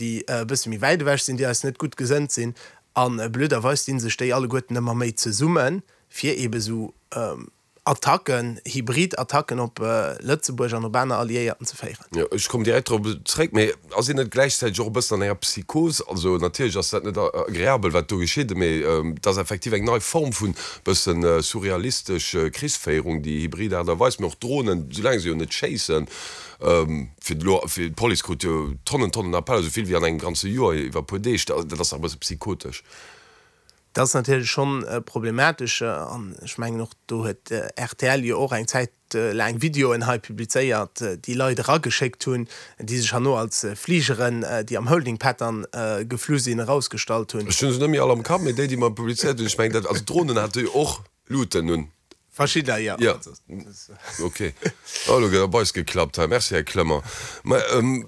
Déi e bësse méi wäit ewech sinn, déi eis net gutt gesënnt sinn. A blöderweis dinn sech déi alleguerten ëmmer méi zesummen, fir eebe sou Attacken, hybrid Attacken op Lëtzebuerg an op aner Alliéierten ze féieren. Jo, ech kommen direkt drop zréck. Mee ass een net gläichzäiteg och e bëssen an enger Psychos? Also natierlech ass dat net agreabel, wat do geschitt, mee et ass effektiv eng nei Form vun bëssen surrealistesch Krichsféierung, déi hybrid Aart a Weis. Mee och d'Dronen, soulaang se jo net schéissen, fir elo, fir d'Police krut jo Tonnen, Tonnen Appeller, esou vill wéi an engem ganze Joer iwwer e puer Deeg. Dat ass dach e bësse psychotesch. Dat ass natierlech schonn problematesch an ech mengen och do huet rtl jo och eng Zäit laang Videoen hei publizéiert, déi Leit erageschéckt hunn, déi sech herno als Fligeren, déi am Holding Pattern geflu sinn, erausgestallt hunn. Ech hunn se net méi all am Kapp, mee déi, déi mer publizéiert hunn, ech mengen dat, also d'Dronen hate jo och Luuten un. Verschidder, jo. Jo, ok. Oh, elo gëtt op eis geklappt hei. Merci, Här Clement. Mä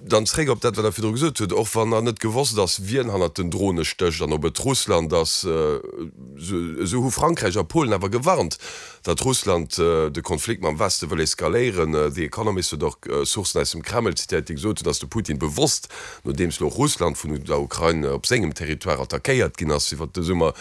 dann zréck op dat, wat Der virdru gesot hutt. Och wann nach net gewosst ass, wien hannert den Drone stécht an ob et Russland ass, esou hu Frankräich a Polen awer gewarnt, datt Russland de Konflikt mam Weste wëll eskaléieren. The Economist huet och Sourcen aus dem Kreml zitéiert, déi gesot hunn, datt de Putin bewosst, nodeems elo Russland vun der Ukrain op sengem Territoire attackéiert ginn ass iwwert de Summer,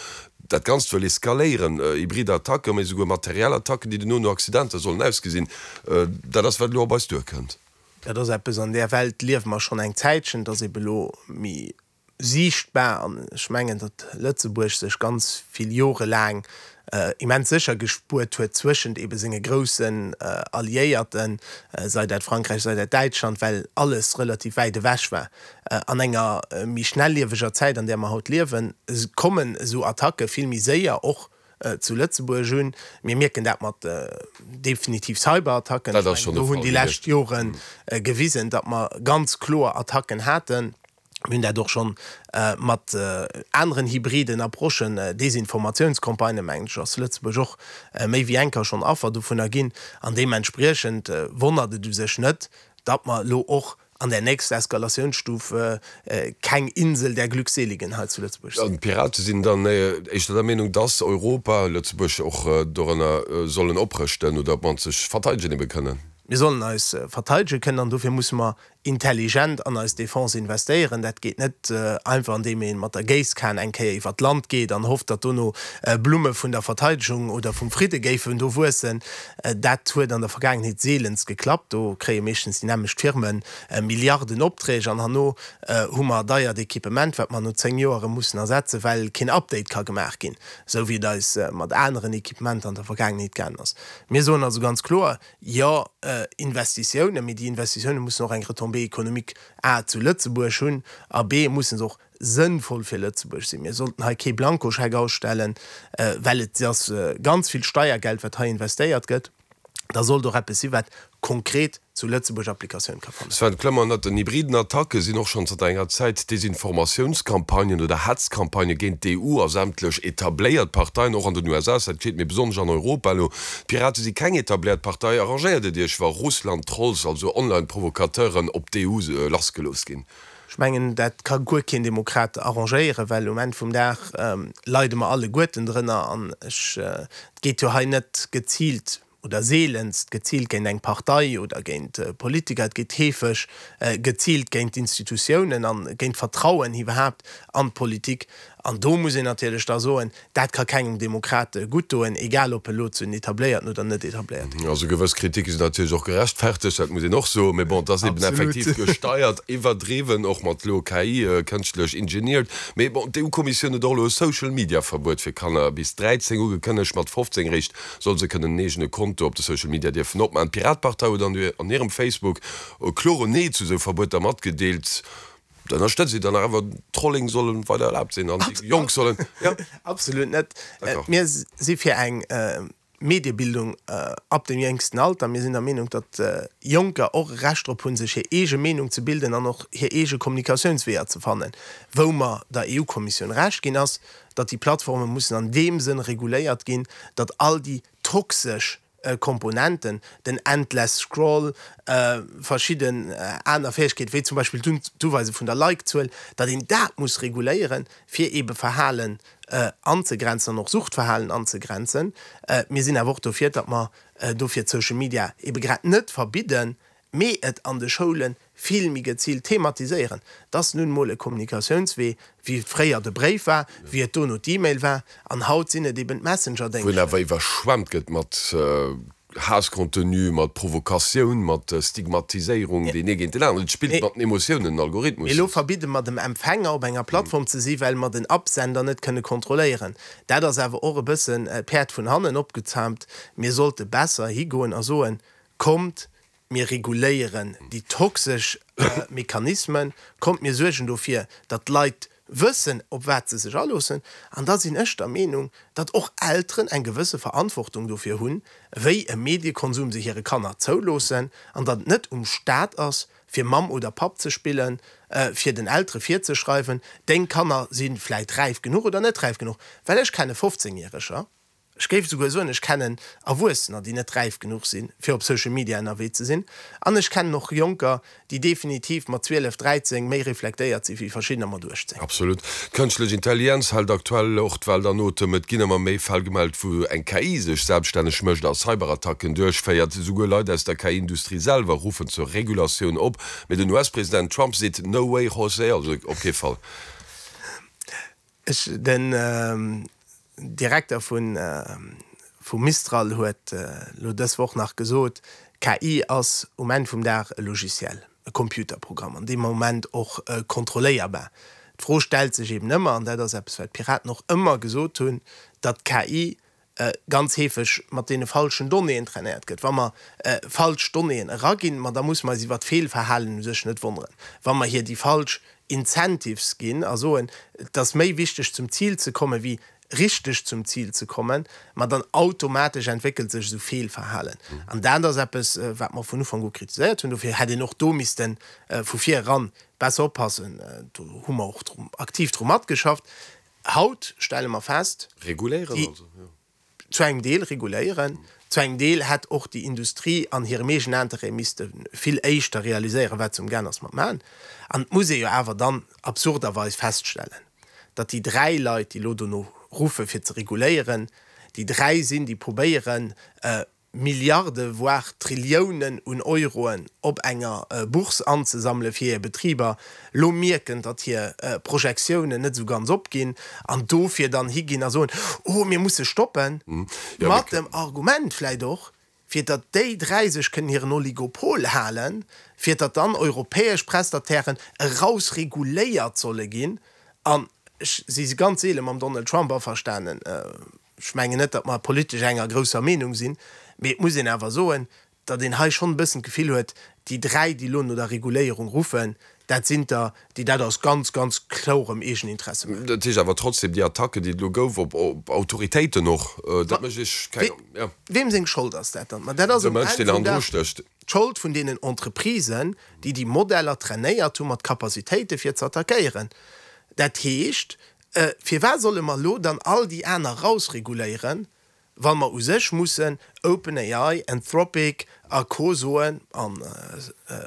Dat Ganzt wëll eskaléieren, hybrid Attacken, mee esouguer materiell Attacken, déi dono no Accidenter sollen ausgesinn. Dat ass, wat elo op eis duerkënnt. Dat ass eppes, an där Welt liewe mer schonn eng Zäitchen. Et ass ebe elo méi siichtbar. An ech mengen, datt Lëtzebuerg sech ganz vill Jore laang immens sécher gespuert huet zwëschent ebe senge groussen Alliéierten, sei dat Frankräich, sei dat Däitschland, well alles relativ wäit ewech war. An enger méi schnellieweger Zäit, an där mer haut liewen, kommen esou Attacke vill méi séier och zu Lëtzebuerg un. Mir mierken dat mat definitiv Cyberattacken. Ech mengen, do hunn déi lescht Jore gewisen, datt mer ganz kloer Attacken haten. Mir hunn dat och schonn mat aneren hybriden Approchen, Desinformatiounscampagnen, mengen ech, ass Lëtzebuerg och méi wéi eng Kéier schonn Affer dovunner ginn. An deementspriechend wonnert et u sech net, datt mer elo och an der nächster Eskalatiounsstuf keng Insel der Glückseligen hei zu Lëtzebuerg sinn. An d'Pirate sinn dann éischter der Meenung, dass Europa, Lëtzebuerg och dorënner, sollen oprëschten oder op d'mannst sech verteidegen ebe kënnen. Mir sollen eis verteidege kënnen an dofir musse mer intelligent an eis Defense investéieren. Dat geet net einfach andeem ee mat der Géisskan eng Kéier iwwert d'Land geet an hofft, datt dono Blumme vun der Verteidegung oder vum Fridde géifen do wuessen. Dat huet an der Vergaangenheet seelenst geklappt. Do kréie meeschtens déi nämmlecht Firme Milliarden Opträg an herno hu mer deiert Equipement, wat mer no 10 Joer erëm mussen ersetzen, well keen Update ka gemaach ginn, esou wéi et eis mat aneren Equipementer an der Vergaangenheet gaangen ass. Mir soen also ganz kloer, Jo, Investitiounen, mee déi Investitiounen mussen och eng Retombée économique a zu Lëtzebuerg hunn a b musse se och sënnvoll fir Lëtzebuerg sinn. Mir sollten hei kee Blankoscheck ausstellen, well et ass ganz vill Steiergeld, wat hei investéiert gëtt. Da sollt och eppes si wat konkret zu Lëtzebuerg Applikatioun ka fannen. Sven Clement, Ënnert den hybriden Attacke sinn och schonn zanter enger Zäit Desinformatiounscampagnen oder Hetzcampagnë géint d'EU a sämtlech etabléiert Parteien, och an den USA ass dat geschitt, mee besonnesch an Europa elo. D'Pirate si keng etabléiert Partei. Arrangéiert et Iech, wa Russland-Trolls, also Online-Provocateuren, op d'EU lassgelooss ginn? Ech mengen, dat ka guer keen Demokrat arrangéieren, well um Enn vum Dag leide mer alleguerten drënner. An ech, et geet jo hei net geziilt oder seelenst geziilt géint eng Partei oder géint Politiker, et geet heefeg geziilt géint d'Institutiounen a géint d'Vertrauen iwwerhaapt an d'Politik. An do muss een natierlech da soen, Dat ka kengem Demokrat gutt doen, egal ob e lo zu den etabléierten oder net etabléierte gehéiert. Also gewëss Kritike sinn natierlech och gerechtfertegt, dat muss een och soen. Mee bon, et ass eben effektiv gesteiert, iwwerdriwwen, och mat elo KI, kënschtlech engineered. Mee bon, d'EU-Kommissioun huet och elo e Social-Media-Verbuet fir Kanner bis 13 ugekënnegt. Mat 15 eréischt solle se kënnen en eegene Konto op de Social Media dierfen opmaachen. D'Piratepartei huet an hirem Facebook e klore Nee zu esou Verbueter matgedeelt. Da ënnerstëtzt Dir dann awer, Trolling soll weider erlaabt sinn an déi Jonk sollen, jo? Absolut net. Mir si fir eng Mediebildung ab dem jéngsten Alter. Mir sinn der Meenung, datt Jonker och e Recht drop hunn, sech hir eege Meenung ze bilden an och hir eege Kommunikatiounsweeër ze fannen. Wou mer der EU-Kommissioun Recht ginn, ass, datt déi Plattforme mussen an deem Sënn reguléiert ginn, datt all déi toxesch Komponenten, den Endless Scroll, verschidden aner Fäegkeeten, wéi zum Beispill d'Uweise vun der Like-Zuel, datt een dat muss reguléieren, fir eebe Verhalen anzegrenzen an och Suchtverhalen anzegrenzen. Mir sinn awer och dofir, datt mer dofir d'Social Media eebe grad net verbidden. Mee et an de Schoule vill méi geziilt thematiséieren. Et ass nun emol e Kommunikatiounswee, wéi et fréier de Bréif war, wéi et dono d'E-Mail war, an haut sinn et eben Wou en awer d'Messenger-Déngschter. iwwerschwemmt gëtt mat Haasscontenu, mat Provokatioun, mat Stigmatiséierung, deen ee géint den aneren. Et spillt mat den Emotiounen, den Algorithmus. Mee elo verbidde mer dem Empfänger op enger Plattform ze si well mer den Absender net kënne kontrolléieren. Dat ass awer och e bëssen d'Päerd vun hannen opgezaamt. Mir sollte besser higoen a soen, Kommt, mir reguléieren déi toxesch Mechanismen, kommt, mir suergen dofir, datt d'Leit wëssen, op wat se sech aloossen. An da sinn ech der Meenung, datt och Elteren eng gewësse Verantwortung dofir hunn, wéi e Mediekonsum se hire Kanner zouloossen, an datt et net um Staat ass, fir Mamm oder Papp ze spillen, fir den Eltere virzeschreiwen, deng Kanner si vläit räif genuch oder net räif genuch. Well ech kenne 15 Järeger, Ech géif esouguer soen, ech kennen Erwuessener, déi net räif genuch sinn, fir op Social Media ënnerwee ze sinn. An ech kennen och Jonker, déi definitiv mat 12, 13 méi reflektéiert si wéi verschiddener mat 18. Absolut. D'Kënschtlech Intelligenz hält aktuell och d'Welt an Otem. Et ginn ëmmer méi Fäll gemellt, wou eng KI sech selbststänneg mécht a Cyberattacken duerchféiert. Esouguer Leit aus der KI-Industrie selwer ruffen zur Regulatioun op. Mee den US-President Trump seet, No way Jose, also op kee Fall. Ech, den Direkter vu Mistral huet elo dës Woch nach gesot, KI ass um Enn vum Dag e Logiciel, e Computerprogramm an deem Moment och kontrolléierbar. D'Fro stellt sech eben ëmmer, an dat ass eppes wat d'Piraten och ëmmer gesot hunn, datt KI ganz heefeg mat deene falschen Donnéeën trainéiert gëtt. Wa mer falsch Donnéeën eraginn, ma da musse mer eis iwwert d'Feelverhalen u sech net wonneren. Wa mer hir déi falsch Incentives ginn a soen, et ass méi wichteg zum Zil ze kommen, wéi richteg zum Zil ze kommen, ma dann automatesch entwéckelt sech esou Feelverhalen. An dat ass eppes, wat mer vun Ufank u kritiséiert hunn. Dofir hätt een och do misste vu vir eran besser oppassen. Do hu mer och aktiv dru matgeschafft. Haut stelle mer fest, Reguléieren déi also, jo. zu engem Deel reguléieren, zu engem Deel hätt och déi Industrie an hirem eegenen Interêt misste vill éischter realiséieren, wat se umgaang ass mat maachen. An et muss ee jo awer dann absurderweis feststellen, datt déi 3 Leit, déi elo dono ruffe fir ze reguléieren, déi 3 sinn, déi probéieren, Milliarde voire Trilliounen un Euroen op enger Bourse anzesammele fir hir Betriber, lo mierken, datt hir Projektiounen net esou ganz opginn an dofir dann higinn a soen, oh mir musse stoppen, mat dem Argument vläicht och, fir datt déi 3 sech kënnen hiren Oligopol halen, fir datt dann europäesch Prestatairen erausreguléiert solle ginn. An ech si ganz seele mam Donald Trump averstanen, Ech mengen net, datt mer politesch enger grousser Meenung sinn, mee et muss een awer soen, datt een hei schonn e bëssen d'Gefill huet, déi 3, déi elo no der Reguléierung ruffen, dat sinn der, déi dat aus ganz, ganz klorem Eegeninteresse maachen. Dat heescht awer trotzdem, déi Attacken, déi et elo gouf op Autoritéiten och, dat mécht Iech keng, jo. Weem seng Schold ass dat dann? Ma dat ass um Enn vum Dag d'Schold vun deenen Entreprisen, déi déi Modeller trainéiert hu mat Capacitéite fir ze attackéieren. Dat heescht, Firwat solle mer elo dann all déi aner rausreguléieren, wa mer u sech mussen OpenAI, Anthropic a Co. Soen, an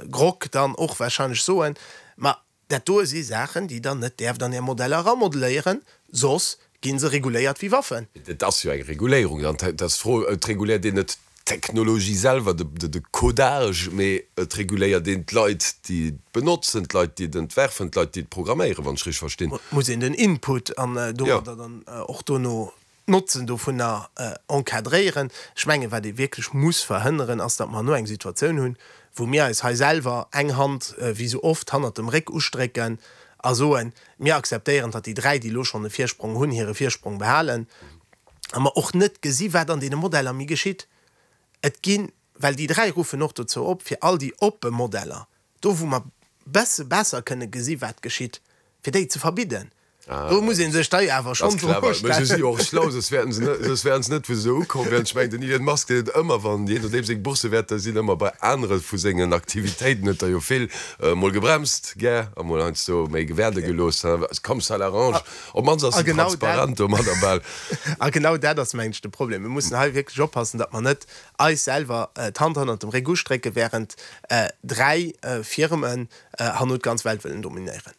Grok dann och wahrscheinlech soen, ma dat doe si Saachen, déi Der net däerft an Är Modeller eramodelléieren, soss gi se reguléiert wéi Waffen. Et ass jo eng Reguléierung. Dann ass d'Fro, Et reguléiert een net d'Technologie selwer, de Codage, mee et reguléiert een d'Leit, déi et benotzen, d'Leit, déi et entwerfen, d'Leit, déi et programméieren, wann ech richteg verstinn. Et muss een den Input an domadder dann och dono d'Notzen dovunner encadréieren. Ech mengen, wat ee wierklech muss verhënneren, ass, datt mer herno eng Situatioun hunn, wou mir eis hei selwer eng Hand, wéi esou oft, hannert dem Réck ustrécken a soen, Mir akzeptéieren, datt déi 3, déi elo schonn e Virsprong hunn, hire Virsprong behalen. A mer och net gesi wat an deene Modeller méi geschitt. Et ginn, well déi 3 ruffen och dozou op, fir all déi oppe Modeller, do wou mer besse besser kënne gesi wat geschitt, fir déi ze verbidden. Do muss ee sech da jo awer schonn d'Fro stellen. Mä se si jo och schlau, soss wäerten se net, soss wären se net wou se elo ukomm wären. Ech mengen, den Elon Musk, deen huet ëmmer, wann, jee nodeem seng Boursewäerter sinn, ëmmer bei anere vu sengen Aktivitéiten huet der jo vill emol gebremst gär a mol heiansdo méi gewäerde gelooss, comme ça l'arrange. Op d'mannst ass en transparent domadder bal. A genau dat ass, mengen ech, de Problem. Mir mussen hei wierklech oppassen, datt mer net eis selwer d'Hand hannert dem Réck ustrécken, während 3 Firmen herno d'ganz Welt wëllen dominéieren.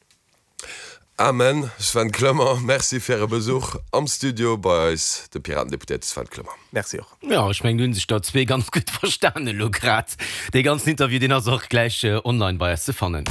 Amen. Sven Clement, Merci fir Äre Besuch am Studio bei eis, de Piraten-Deputéierte Sven Clement. Merci och. Jo, ech mengen, do hu sech der zwee ganz gutt verstanen elo grad. Dee ganzen Interview, deen ass och gläich online bei eis ze fannen.